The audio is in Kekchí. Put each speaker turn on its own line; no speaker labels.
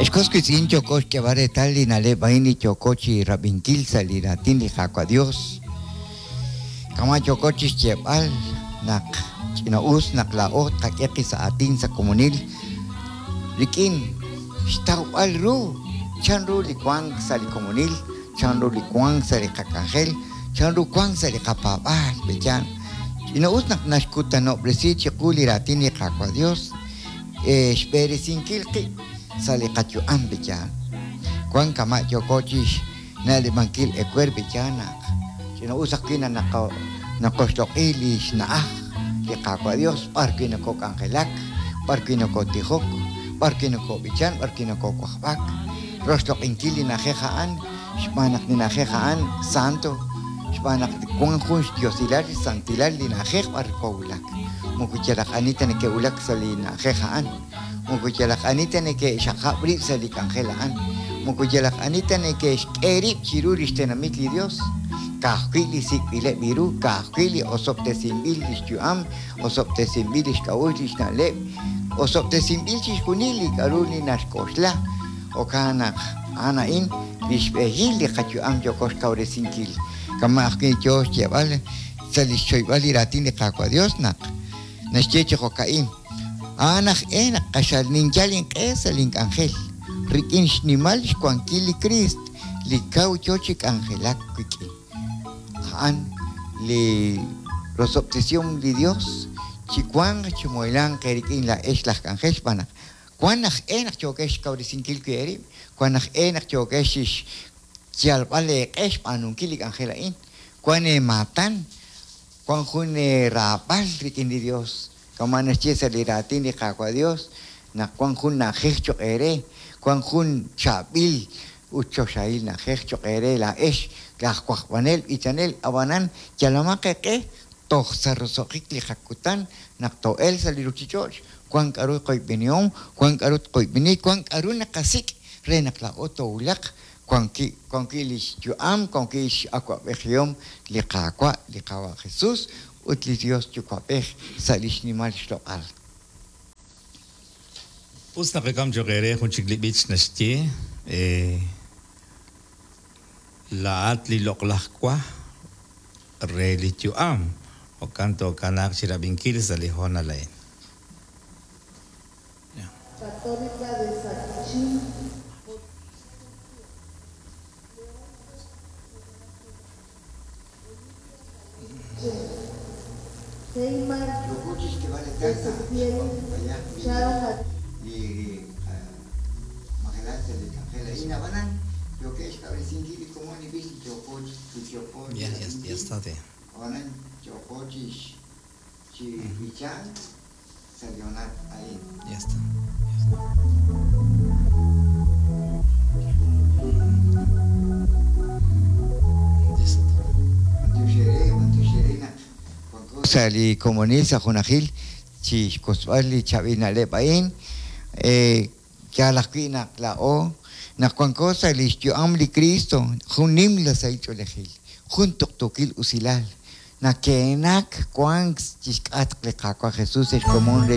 Ex was wiitz'in, yooko xk'eeb'al reetal li na'leb' a'in li yooko chi rab'inkil sa' li raatin li Qaawa' Dios. Kama' yooko chi xyeeb'al naq ch'ina'us naq laa'o tqak'e qib' sa' aatin sa' komonil rik'in xtawb'al ru chanru li wank sa' li komonil, chanru li wank sa' li qak'anjel, chanru wank sa' li qapaab'aal. B'eyan, ch'ina'us naq naxkutanob'resi chiqu li raatin li Qaawa' Dios xb'eresinkil qib' sa' li qayu'am. B'eyan, wank kama' yooko chi xna'leb'ankil ewer. B'eyan naq ch'ina'us ajwi' naq naqoxloq'i li xna'aj li Qaawa' Dios b'ar wi' nokok'anjelak, b'ar wi' nokotijok, b'ar wi' nokob'ichan, b'ar wi' nokowajb'ak, roxloq'inkil li na'ajej a'an xb'aan naq li na'ajej a'an santo, xb'aan naq wank jun xdiosilal xsantilal li na'ajej b'ar kowulak. Moko yalaq ani ta neke'wulak sa' li na'ajej a'an, moko yalaq ani ta neke'xaqab' rib' sa' li k'anjel a'an, moko yalaq ani ta neke'xk'e rib' chiru li xtenamit li Dios. Ka'ajwi' li sik'b'ileb' ru, ka'ajwi' li osob'tesinb'il li xyu'am, osob'tesinb'il li xk'a'uxl li xna'leb', osob'tesinb'il chixjunil li k'a'ru li naxk'oxla. Jo'kan naq a'an a'in li xb'ehil li qayu'am yooko xkawresinkil. Kama' ajwi' yoo xyeeb'al sa' li xchoyb'al li raatin li Qaawa' Dios naq naxye chi jo'ka'in: A'an aj e naq q'axal ninyal inq'e sa' link'anjel rik'in xnimal xwankil li Kriist li kaw yo chi k'anjelak wik'in. A'an li rosob'tesihom li Dios chi wanq chi muhelanq eerik'in laa'ex laj k'anjel xb'aan naq wank aj e naq yookex xkawresinkil wi' eerib', wank aj e naq yookex xyalb'al eeq'e xb'aanunkil li k'anjel a'in, wank eemaatan, wank jun eeraab'al rik'in li Dios. Kama' naxye sa' li raatin li Qaawa' Dios naq wank jun na'ajej cho'q eere, wank jun chaab'il ut choxahil na'ajej cho'q eere laa'ex laj wajb'anel b'ichanel. Ab'anan yalamaq eeq'e toj sa' roso'jik li qakutan naq too'elq sa' li ruuchich'och', wank k'aru qoyb'enihom, wank k'aru tqoyb'eni, wank k'aru naqasik' re naq laa'o toowulaq wank wi' li xyu'am, wank wi' x'awab'ejihom li Qaawa', li Qaawa' Jesús ut li Dios Yuwa'b'ej sa' li xnimal xloq'al.
Us naqak'am cho'q eere jun chik li b'ich naxye Laa'at li loq'laj wa re li yu'am. Jo'kan tookanaaq chi rab'inkil sa' li hoonal a'in.
Católica de Saquichí. Heymar
Yooko chi xk'eeb'al reetal naq
Ezequiel
b'ayaq
Charo
li majelal sa' li k'anjel a'in, ab'anan yookeb' xkawresinkil li komon li b'ich li yooko chi
Ya, ya, ya
rab'inkil,
está bien.
ab'anan yooko chi chi b'ichank sa' li hoonal a'in.
Ya está. Ya está. Ya está todo.
B'antiox eere, b'antiox eere naq wanko sa' li komonil sa' junajil chi xkotzb'al li chaab'il na'leb' a'in. Yaal ajwi' naq laa'o naq wanko sa' li xyu'am li Cristo, jun nimla sahil ch'oolejil, jun tuqtuukil usilal, nakeenak wank chi xk'atq li Qaawa' Jesús ex komon re